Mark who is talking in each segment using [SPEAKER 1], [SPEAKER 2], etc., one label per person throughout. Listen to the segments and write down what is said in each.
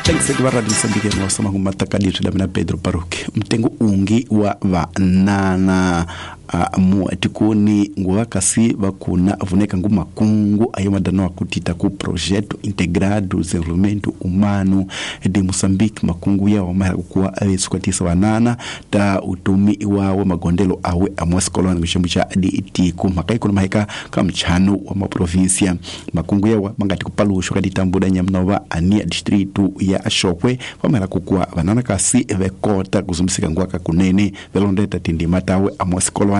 [SPEAKER 1] Thanks va Radio Moçambique no sama ngumatakadiswi la mina Pedro Baruch mtengo ungi wa vanana mu tikoni nguva kasi vakuna vuneka ngu makungu ayo madano akutita ku Projeto Integrado Desenvolvimento Humano de Moçambique makungu yawo mahera kuwa avesukatisa vanana ta utumi wawo magondelo awe amwasikolwana kuxembu xa ditiku mhaka ikulu maheka ka mchano wa maprovinsia makungu yawa mangati kupaluxwa ka ditambuda nyamunova ania distrito ya Xokwe vamahera kukuwa vanana kasi vekota kuzumisika nguva kunene velondeta tindima tawe amwasikolwana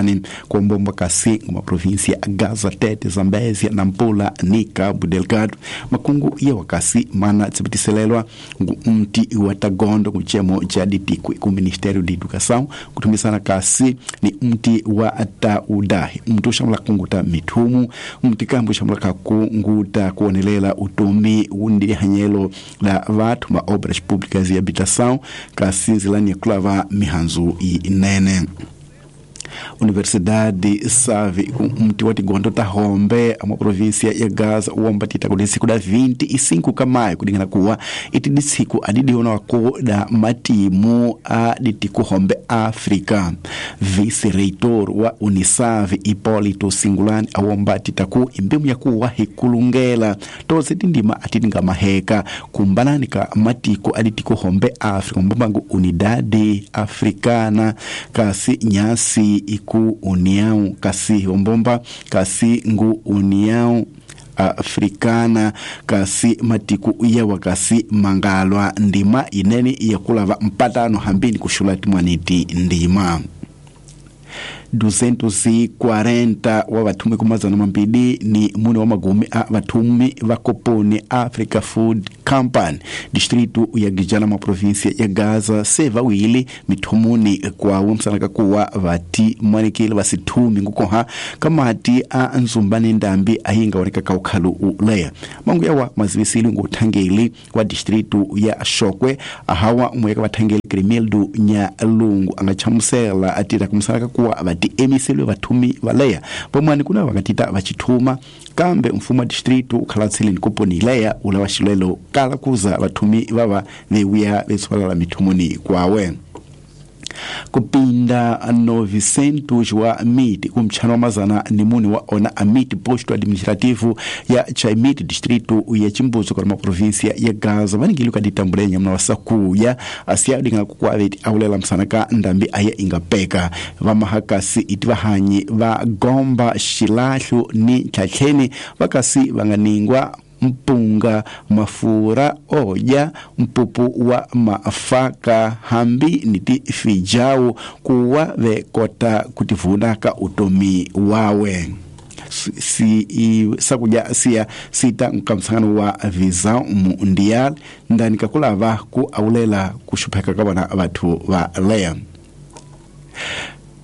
[SPEAKER 1] kombomba kasi nguma província Gaza, Tete, Zambésia, Nampula ni Cabo Delgado makungu yewa kasi mana tsipitiselelwa ngu mti wa Tagondo kuchemo cha ditiku ku Ministério de Educação kutumisana kasi ni mti wa Taudahi mti ushamula kunguta mithumu mti kambu ushamula kunguta kuonelela utumi undi hanyelo la vathu ma obras públicas e habitação kasi nzilani ya kulava mihanzu inene. Universidade Save mti wa tigondo ta Hombe ama província ya Gaza uomba tita kudisiku da 25 kamayo kudingana kuwa iti disiku adidiona wako da matimu a ditiku Hombe Africa. Vice-reitor wa Unisave Hipólito Singulani awomba tita ku imbimu ya kuwa hikulungela toze tindima atidinga maheka kumbanani ka matiko aditiku Hombe Africa mbombangu Unidade Africana kasi nyasi iku União kasi ombomba kasi ngu União Africana kasi matiku yawa kasi mangalwa ndima inene yakulava mpatano hambini kushula timwaniti ndima 240 wa vathumi kumazana mambili ni mune wa magumi a vathumi va koponi Africa Food Company distrito ya Gijana ma província ya Gaza se vawili mithumuni kwawo msanaka kuwa vati mwanikile vasithumi ngukoha kamati a nzumbani ndambi ahinga oneka kaukhalu uleya mangu yawa mazivisili nguthangeli wa distrito ya Xokwe ahawa mweka vathangeli Grimildo Nyalungu angachamusela atira kumsanaka kuwa vati emiselwe vathumi valeya vamwani kuna vakatita vachithuma kambe mfumo wa distrito ukhalatsile koponi leya ula wa xilwelo kala kuza vathumi vava vewiya vetswalala mithumuni kwawe. Kupinda 900 wa miti kumchano wa mazana ni muni wa ona amiti posto administrativo ya Chaimiti distrito ya Chimbuzo kwa província ya Gaza vaningili kaditambulenya mna wasakuya asiya dinga kukwaveti aulela msanaka ndambi aya ingapeka vamahakasi itivahanyi va gomba xilahlu ni tlhatlheni vakasi vanganingwa mpunga mafura oja mpupu wa mafaka hambi niti fijawu kuwa vekota kutivuna ka utomi wawe si sakuja siya sita nkamsangano wa visa mundial ndani kakulava ku aulela kushupheka ka vona vathu va leya.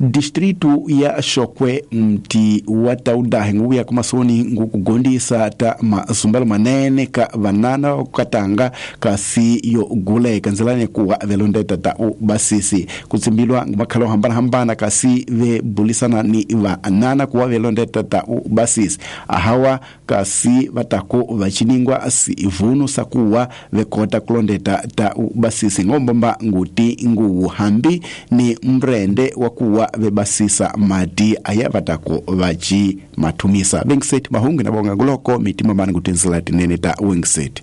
[SPEAKER 1] Distrito ya Xokwe mti wa Taudahi nguya kumasoni ngukugondisa ta mazumbelo manene ka vanana katanga kasi yo guleka nzilani kuwa velondeta ta ubasisi kutsimbilwa ngumakhalo hambana hambana kasi vebulisana ni vanana kuwa velondeta ta ubasisi ahawa kasi vatako vachiningwa sivunu sakuwa vekota kulondeta ta ubasisi ngombomba nguti nguwu hambi ni mrende wakuwa vebasisa mati aya vatako vachi mathumisa Wingset mahungu na bonga nguloko mitima mani kutinzila tinene ta Wingset.